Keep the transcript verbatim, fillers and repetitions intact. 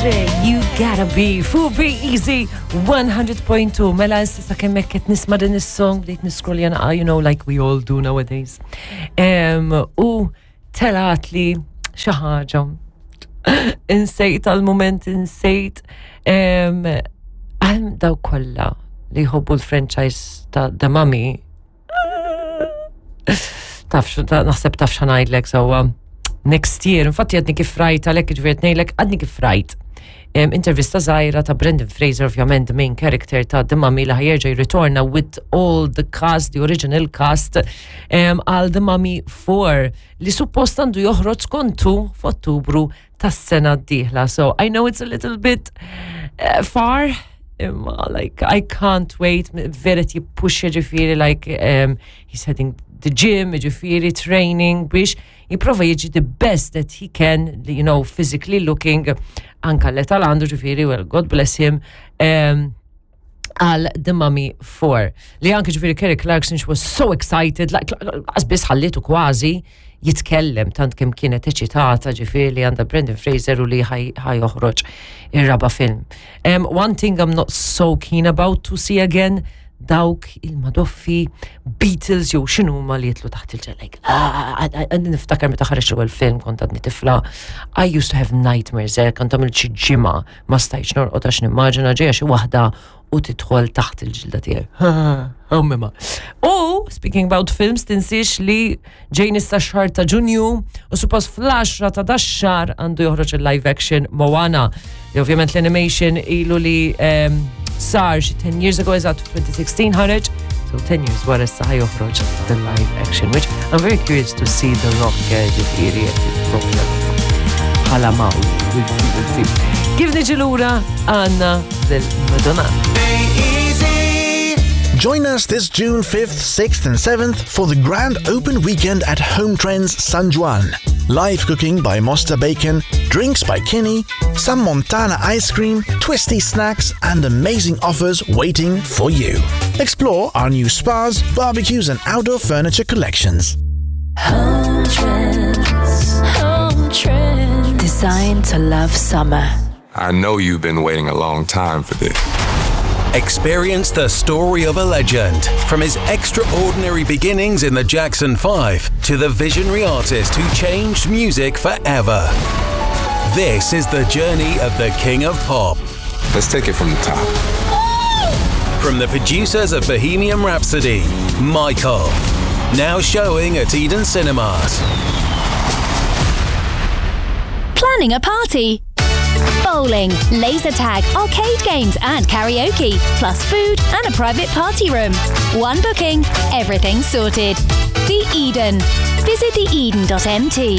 Andre, You Gotta Be, fuq Be Easy one hundred point two. Mela issa kemm qed nisma' din is-song, bdejt niscroll jana, you know, like we all do nowadays. Um, u telat li xi ħaġa. Insejt għal-moment, insejt. Um, għal daw kollha li jħobbu l-franchise ta' The Mummy. Taf, naħseb taf x'ħa ngħidlek sewwa. Next year, infatti għadni kif rajt, għalhekk ġifieri ngħidlek, għadni kif rajt intervista żgħira ta' Brendan Fraser, ovvjament, the main character ta' The Mummy, li ħa jerġa' jirritorna with all the cast, the original cast, għal The Mummy four li suppost għandu joħroġ skontu f'Ottubru tas-sena d-dieħla. So I know it's a little bit uh, far, imma like I can't wait, vera jippuxja ġifieri, like um, he's heading the gym, ġifieri training biex jipprova jiġi the best that he can, you know, physically looking, anka l-età għandu ġifieri, well, God bless him, um, għal The Mummy four. Li anke ġifieri Kelly Clarkson, she was so excited, like, biss ħallitu kważi jitkellem tant kemm kienet eċitata ġifieri li għandha Brendan Fraser u li ħa joħroġ ir-raba' film. Um, one thing I'm not so keen about to see again, dawk il-madoffi Beatles jew x'inhu ma li jitlu taħt il-ġel. Like, ah, niftakar meta ħareġ l film kont għadni tifla. I used to have nightmares, eh, kont għamil xi ġimgħa ma stajtx norqod għax nimmaġina ġejja xi waħda u tidħol taħt il-ġilda tiegħi. Ma. U speaking about films, tinsiex li ġejn issa xahar ta' Ġunju u suppost fl-għaxra ta' dax-xahar għandu joħroġ il-live action Moana. Li ovvjament l-animation ilu li um, sar xi ten years ago, eżatt twenty sixteen ħareġ. So ten years wara issa ħa joħroġ the live action, which I'm very curious to see The Rock, eh, ġifieri bħala Maui. Kif niġi lura għandna lil Madonna. Join us this June fifth, sixth, and seventh for the Grand Open Weekend at Home Trends San Juan. Live cooking by Mosta Bacon, drinks by Kinney, some Montana ice cream, twisty snacks, and amazing offers waiting for you. Explore our new spas, barbecues, and outdoor furniture collections. Home Trends, Home Trends. Designed to love summer. I know you've been waiting a long time for this. Experience the story of a legend, from his extraordinary beginnings in the Jackson five to the visionary artist who changed music forever. This is the journey of the King of Pop. Let's take it from the top. From the producers of Bohemian Rhapsody, Michael. Now showing at Eden Cinemas. Planning a party? Bowling, laser tag, arcade games, and karaoke, plus food and a private party room. One booking, everything sorted. The Eden. Visit theeden dot M T.